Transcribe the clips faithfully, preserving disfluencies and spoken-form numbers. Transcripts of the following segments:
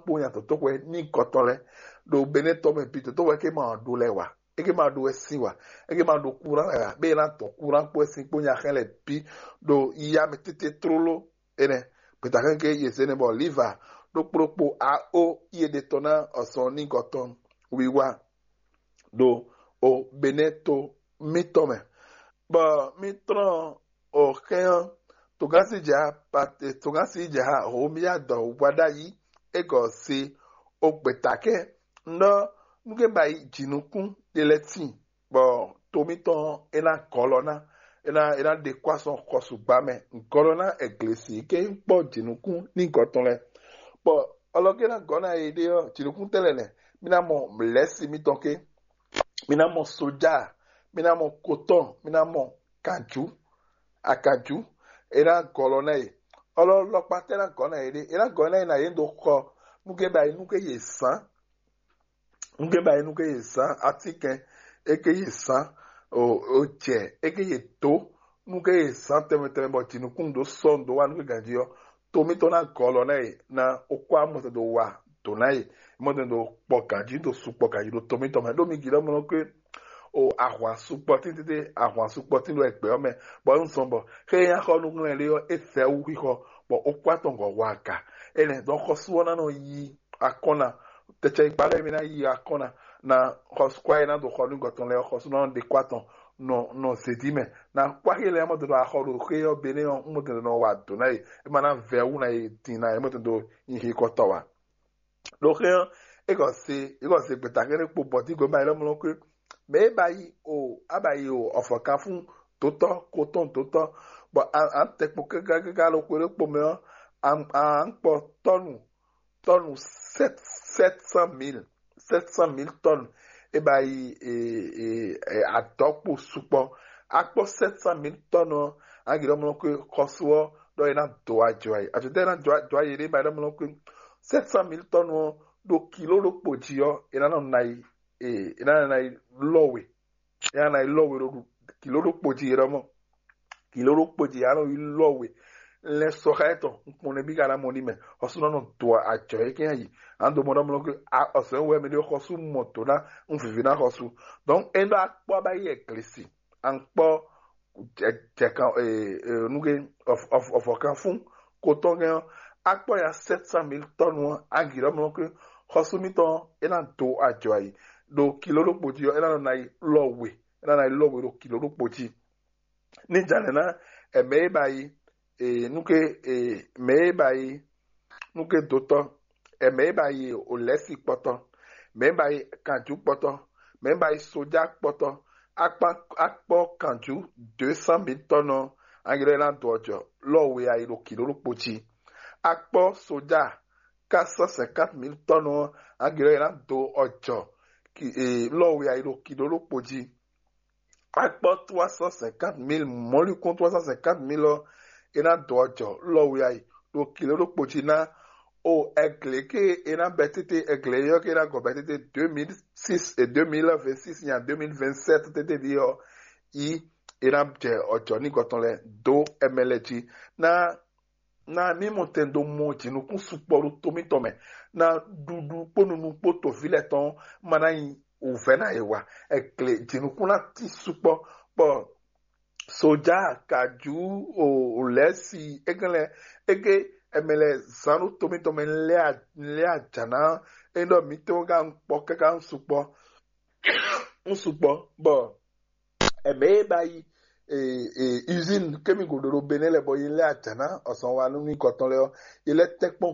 kpó nya tɔtɔxwɛ ní gɔtɔn lɛ ɖo Benɛtɔ mɛ bi tɔtɔxwɛ ke ma ɖo lɛ wa, eke ma ɖo wɛ sin wa, eke ma ɖo kuran lɛ wa, be na tɔ kuran kpó sin kpó nya xɛ lɛ bi ɖo ya mɛ tete tlóló. Enɛ gbeta kɛn ke yě zé nɛ bɔ liva ɖokpó ɖokpó a ó iye ɖe tɔn ná ɔsɔn ní gɔtɔn wiwa ɖo o Benɛtɔ mítɔn mɛ. Bɔ mí tlɔ́n o xɛn ɔ́, togánsi jɛ ha pate togánsi jɛ ha homia dɔ wa ɖ'ayǐ égɔ́ se o gbeta kɛn nɔ nú ke ba yi jǐnukún ɖe lɛ́ tíin bɔ to mítɔn é ná gɔlɔ ná é ná é ná ɖe kó asɔn xɔsugba mɛ gɔlɔ ná ɛglesi ke kpɔ jǐnukún ní gɔtɔn lɛ. Bɔ ɔlɔgé ná gɔ́ ná yé ɖé ɔ́, jǐnukún tɛ́ lɛ́ nɛ́, mí ná mɔ lɛ̌si mítɔn ké, mí ná mɔ soja, mí ná mɔ kotɔn, mí ná mɔ kanjú, akanjú. É ná gɔlɔ ná yé. Ɔlɔ lɔkpa tɛ́ ná gɔ́ ná yé ɖé, é ná gɔ́ ná yé ná yé ɖo xɔ nú ke ba yi nú ke yě zán nú ke ba yi nú ke yě zán atínkɛn é ke yě zán o jɛ é ke yě dó nú ke yě zán tɛnmɛ tɛnmɛ bɔ jǐnukún ɖó sɔ́ dó wá nú ke ganjí ɔ́, to mítɔn ná gɔlɔ ná yě ná ó kó amɔtɛ dó wa dǒ ná yě, mɔtɛ dó kpɔ ganjí dó su kpɔ ganjí ɖo to mítɔn mɛ ɖó mi gǐ ɖɔ mɔ ke o ahwan sukpɔtín tete ahwan sukpɔtín ɖo ẹgbẹ́ ɔ́ mɛ, bɔ é zɔn bɔ xé nyá xɔ nú ŋlɛ́ ɖé ɔ́ é fɛ wú xixɔ bɔ ó kó atɔngɔ́ wa aga. Énɛ́ dɔn xɔsú ɔ́ ná nɔ yí akɔ́nna tɛcɛ ikpa lɛ́ɛ mi ná yí akɔ́nna na xɔsúkwa e ná do xɔ nú gɔtɔn lɛ́ɛ xɔsú ná ɖe kó atɔn nɔ nɔ zědí mɛ na kpáxi lɛ́ɛ mɔ dɔdɔ axɔ ɖo xé ɔ́ be nɛ́ ɔ́ mɔ dɔdɔ nɔ wa dǒ ná yě é ma ná vɛ wú ná yě din ná yě mɔ dɔdɔ nyi xi kɔtɔ wa. Ɖo xé ɔ́ é kɔ se é kɔ se gbeta kɛ́ɖɛ́ kpo bɔtígbe ma yɛ lɔmlɔ kwé mɛ é ba yi o á ba yi o ɔfɔkanfún dotɔ kotɔn dotɔ bɔ à ń tɛ kpo kákákáká ɖo xwé ɖé kpo mɛ ɔ́ à ń kpɔ tɔnu tɔnu sept cent mille sept cent mille tɔnu é ba yi adɔkpo sukpɔ akpɔ sept cent mille tɔnu ɔ́ agirɔ mlɔ kwe xɔsu ɔ́ ɖɔ é ná do ajɔ ayi àti tɛ é ná do ajɔ ayi ɖé ba é ná mlɔ kwe sept cent mille tɔnu ɔ́ ɖo kilo ɖokpo jí ɔ́ é ná nɔ na yi é ná nɔ na yi lɔwe é ná nɔ na yi lɔwe ɖo kilo ɖokpo jí é ɖɔ mɔ kilo ɖokpo jí é ná nɔ yi lɔwe lɛ sɔxa etɔn nkpɔn nɛ bí ka ná mɔ ní mɛ ɔsùn nɔ do ajɔ é kɛn yi à ń do mɔ ɖɔ mɔ lɔ kí ɔsùn wɛ mi ɖe xɔsù mɔ tó ná ń vivi ná xɔsù donc é ɖɔ akpɔ ba yi ɛglesi à ń kpɔ jɛkan nuge ɔfɔkan fún kotɔn gɛn ɔ́ akpɔ ya sept cent mille tɔnu ɔ́ agi ɖɔ mɔ lɔ kí xɔsù mitɔn é ná do ajɔ ayi ɖo kilo ɖokpo jí ɔ́ é ná nɔ ná yi lɔ we é ná nɔ ná yi lɔ we ɖo kilo ɖokpo jí ní jǎnɛ ná ɛmɛ é ba yi nuke mɛ é ba yi nuke dotɔ ɛmɛ é ba yi olɛsi kpɔtɔ mɛ é ba yi kanjú kpɔtɔ mɛ é ba yi soja kpɔtɔ akpɔ kanjú deux cent mille tɔnɔ angilɛ ná do ɔjɔ lɔ we ayi ɖo kilo ɖokpo jí akpɔ soja quatre cent cinquante mille tɔnɔ angilɛ ná do ɔjɔ lɔ we ayi ɖo kilo ɖokpo jí akpɔ trois cent cinquante mille mɔlikún trois cent cinquante mille ɔ́ é ná dó ɔjɔ lɔ we ayi ɖo kilo ɖokpo jí ná o ɛglě ke é ná bɛ tete ɛglě yɔ ke é ná gɔ bɛ tete deux mille six et deux mille vingt six nya deux mille vingt sept tete ɖi ɔ́ yi é ná jɛ ɔjɔ ní gɔtɔn lɛ dó ɛmɛ lɛ jí ná na mí mɔ tɛn dó mɔ jǐnukún sukpɔ ɖo to mítɔn mɛ na ɖuɖu kpó nunu kpó toví lɛ́ɛ tɔn ma ná nyi wǔvɛ́ ná yě wa ɛgle jǐnukún ná tí sukpɔ kpɔ soja kajú o lɛ́si églɛ́ ége ɛmɛ lɛ zán ɖo to mítɔn mɛ lé ajǎ ná é ɖɔ mítɔn ká ń kpɔ káká ń sukpɔ ń sukpɔ bɔ ɛmɛ e ba yi usine kemi go ɖoɖo benɛ lɛ bɔ yi lɛ ajana ɔsɔn wa nú ní gɔtɔn lɛ ɔ yi lɛ tɛkpɔn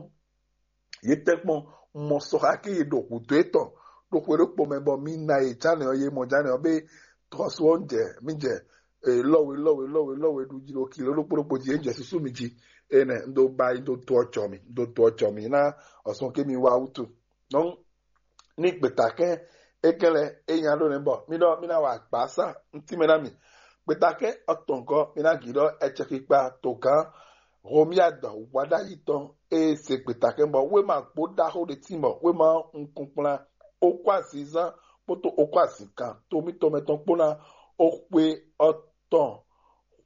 yi tɛkpɔn mɔ sɔxa ke yi ɖo hǔdó etɔn ɖo xwe ɖokpo mɛ bɔ mi na yi jánɛ ɔ yi mɔ jánɛ ɔ be tɔsu ɔ jɛ mi jɛ lɔwe lɔwe lɔwe lɔwe ɖu jí ɖo kilo ɖokpo ɖokpo jí e jɛ susu mi jí enɛ ndo ba yi do do ɔjɔ mi do do ɔjɔ mi na ɔsɔn ke mi wa wutu. Donc ní gbeta kɛn é kɛn lɛ é nya ɖó nɛ́ bɔ mí ɖɔ mí ná wa gbǎsa ntí mɛ ná mì. Gbeta kɛn ɔtɔngɔ́ mí ná gǐ ɖɔ ɛcɛkpikpa togán Romia dɔ wǎɖayi tɔn é se gbeta kɛn bɔ wéma gbó ɖaxó ɖé tín bɔ wéma nukɔn kplán okó azizán kpódó okó azǐnkan tómítɔ́mɛ tɔn kpó ná ó xwé ɔtɔn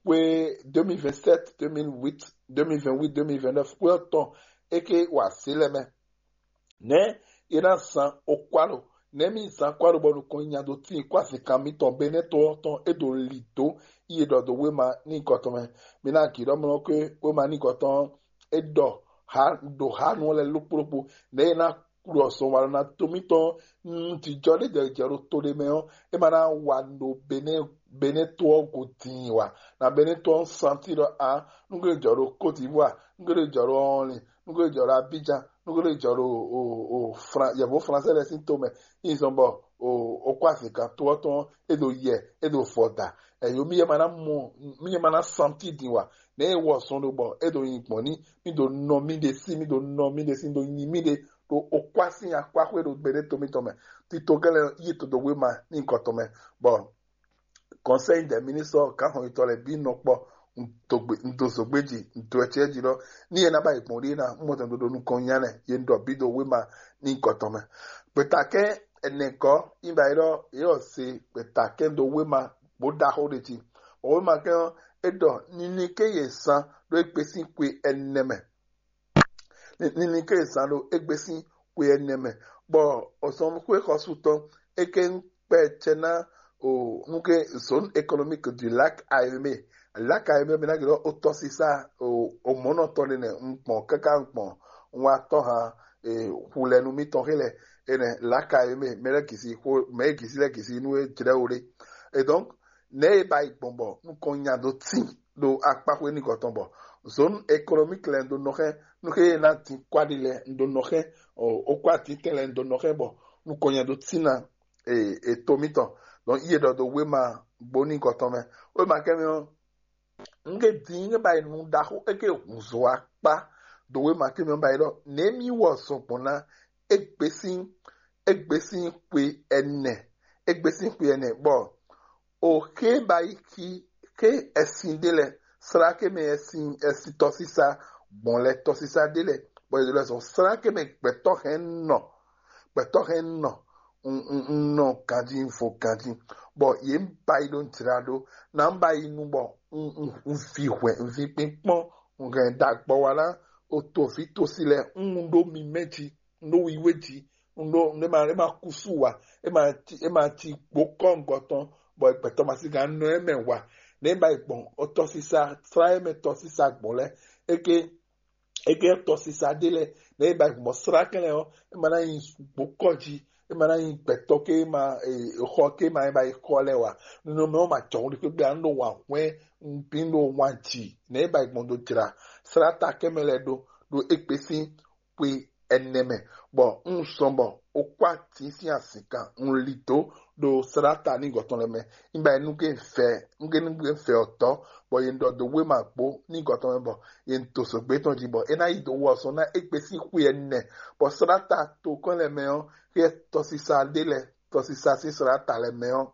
xwé deux mille vingt-sept, deux mille huit, deux mille vingt-huit, deux mille vingt-neuf xwé ɔtɔn é ké wa zě lɛ mɛ. Nɛ̌ è nǎ zán okwálo? Nɛ̌ mì zán kwálo bɔ nukɔn nya dó tíin kó azinkan mitɔn Benɛ́ to ɔ́ tɔn é ɖo lǐ dó yi e ɖɔ dó wéma ní gɔtɔn mɛ? Mi ná gǐ ɖɔ mlɔ́ kwé wéma ní gɔtɔn ɔ́ é ɖɔ ha ɖo ha nu ɔ́ lɛ́ɛ lókpóɖókpó. Nɛ̌ è nǎ kplɔ́ zɔn walɔ ná to mitɔn nú jijɔ ɖé jɛ jɛ ɖo to ɖé mɛ ɔ́, é ma ná wa ɖo Benɛ́ Benɛ́ to ɔ́ go din wa. Na Benɛ́ to ɔ́ santi ɖɔ a nú gbe jɔ ɖo Côte d'Ivoire, nú gbe jɔ ɖo Ɔnlin, nú gbe jɔ ɖo Abidjan, nú gbe jɔ ɖo o o Fran yɛvo Fransɛ lɛ sín to mɛ. Nyi zɔn bɔ o o kó azinkan to ɔ́ tɔn é ɖo yɛ é ɖo vɔ da. Ɛyó mi yɛ ma ná mɔ mi yɛ ma ná santi din wa. Nɛ̌ e wɔ zɔn ɖo bɔ é ɖo nyi gbɔn ní mi ɖo nɔ mi ɖe sí mi ɖo nɔ mi ɖe sí mi ɖo nyi mi ɖe ɖo okwá sín akwáxwé ɖo gbeɖé to mitɔn mɛ. Tito gɛlɛ yi to ɖo wéma ní gɔtɔn mɛ bɔ Conseil des ministres gǎnxɔyitɔ lɛ́ɛ bǐ nɔ kpɔ. Un do zogbe jí, un do ɛcɛ jí ɖɔ ní yɛ ná ba yi gbɔn ɖíe ná un mɔ tɛn ɖo nukɔn nya nɛ ye un ɖɔ bǐ ɖo wéma ní gɔtɔn mɛ. Gbeta kɛn ɛnɛ gɔ́ yi ba yi ɖɔ yě wɔ se gbeta kɛn ɖo wéma bó ɖaxó ɖe jí. Bɔ wéma kɛn ɔ́ é ɖɔ nini ké yě zán ɖó égbé sín xwe ɛnɛ mɛ. Nini ké zán ɖo égbé sín xwe ɛnɛ mɛ, bɔ ɔzɔnxwé xɔsutɔn é ké kpɛ cɛ ná o nú ké zone économique du lac Ayomé. Lac Ayomé mi ná gblɔ ó tɔsísá o mɔ̌nɔtɔn ɖé nɛ un gbɔn káká un gbɔn un wá tɔ́ hàn xulɛnu mitɔn xé lɛ enɛ lac Ayomé mɛ lɛ gisi xo mɛ gisi lɛ gisi nú é jlɛ́ wo ɖé. Et donc nɛ̌ e ba yi gbɔn bɔ nukɔn nya dó tín ɖo akpáxwé nukɔn tɔn bɔ zone économique lɛ un ɖo nɔ xɛn nú xé e ná dín kwáɖi lɛ un ɖo nɔ xɛn okpó atitɛn lɛ un ɖo nɔ xɛn bɔ nukɔn nya dó tín ná e to mitɔn. Donc iye ɖɔ ɖo wéma gbóníkɔ tɔn mɛ. Wéma kɛ́mɛ ɔ́ un ke dín un ke ba yi nu ɖaxó é ke hǔnzɔ́ akpá ɖo wéma kɛ́mɛ ɔ́ ba yi ɖɔ nɛ̌ mì wɔ zɔn gbɔn ná égbé sín égbé sín xwe ɛnɛ égbé sín xwe ɛnɛ bɔ o xé ba yi xi xé ɛsin ɖé lɛ sláké mɛ ɛsin ɛsin tɔsísá gbɔn lɛ tɔsísá ɖé lɛ bɔ yě lɛ zɔn sláké mɛ gbɛtɔ́ hɛn nɔ gbɛtɔ́ hɛn nɔ un nɔ ganjí un fo ganjí bɔ yě ba yi ɖo jlá ɖó ná ba yi nu bɔ un vi hwɛ̌ un vi kpínkpɔ́n un hɛn ɖagbɔ wa ná o to vǐ tosi lɛ un ɖó mi mɛ jí un ɖó wiwe jí un ɖó un ɖé ma é ma kúsú wa é ma ci é ma ci gbó kɔ́ngɔ tɔn bɔ gbɛtɔ́ ma sí gán nɔ ɛ mɛ wa nɛ ba yi gbɔn tɔsísá srá ɛ mɛ tɔsísá gbɔn lɛ é ké é ké tɔsísá ɖé lɛ nɛ ba yi gbɔn srá kɛn lɛ ɔ́ é ma ná nyi gbó kɔ jí é ma ná nyi gbɛtɔ́ ké ma xɔ ké ma é ba yi xɔ lɛ wa nínú mɛ ɔ́ ma jɔhún ɖi kpékpé anu ɖo wa hwɛn un bí ɖo wan jì nɛ ba yi gbɔn do jra srá ta kɛn mɛ lɛ ɖó ɖó égbé sín xwe ɛnɛ mɛ bɔ un sɔn bɔ o kó atín sín azǐnkan un li dó ɖo sláta ní gɔtɔn lɛ mɛ nígbà yẹn nú ké fɛ nú ké nú ké fɛ ɔtɔ bɔ yě ɖɔ dó wéma gbó ní gɔtɔn mɛ bɔ yě dó sɔgbé tɔn jí bɔ é ná yi dó wɔ sɔn ná égbé sín xwe ɛnɛ bɔ sláta tokɔn lɛ mɛ ɔ́ xyɛ tɔsisa ɖé lɛ tɔsisa sín sláta lɛ mɛ ɔ́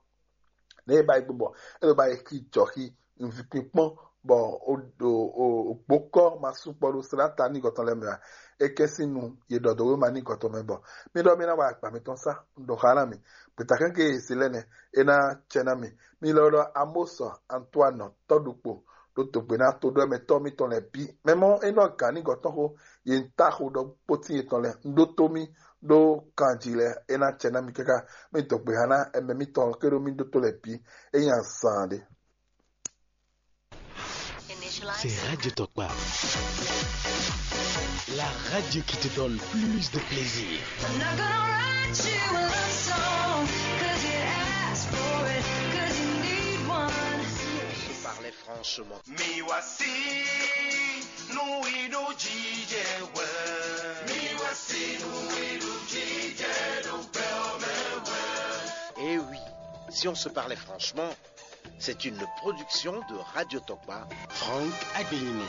nɛ é ba yi gbɔn bɔ é ɖo ba yi xi jɔxi nvi kpikpɔn bɔ o o o gbokɔ ma sukpɔ ɖo srata ní gɔtɔn lɛ mɛ a é kɛ sín nu yě ɖɔ dó wéma ní gɔtɔn mɛ bɔ mi ɖɔ mi ná wa akpa mitɔn sá un ɖɔ xá ná mi gbeta kɛnkɛ e se lɛ nɛ é ná cɛ ná mi mi lɔ ɖɔ amosɔ antoine tɔɖukpo ɖo dogbe ná to ɖɔ mɛ tɔ mitɔn lɛ bi mɛ mɔ é nɔ gǎn ní gɔtɔn xó yě ń ta xó ɖɔ kpótín yětɔn lɛ un ɖó tó mì ɖó kanji lɛ é ná cɛ ná mi káká mi dɔgbe hã ná ɛmɛ mitɔn ké ɖó mi ɖótó lɛ bǐ é nyi azan ɖé. C'est Radio Tokpa. La radio qui te donne plus de plaisir. I'm not gonna write you a love song, 'cause you asked for it, 'cause you need one. Si on se parlait franchement. Miwasi nuiɖu jijɛ wɛ. Miwasi nuiɖu jijɛ ɖo gbɛ ɔ́ mɛ wɛ. Eh oui, si on se parlait franchement, c'est une production de Radio Tokpa. Franck Agbelino.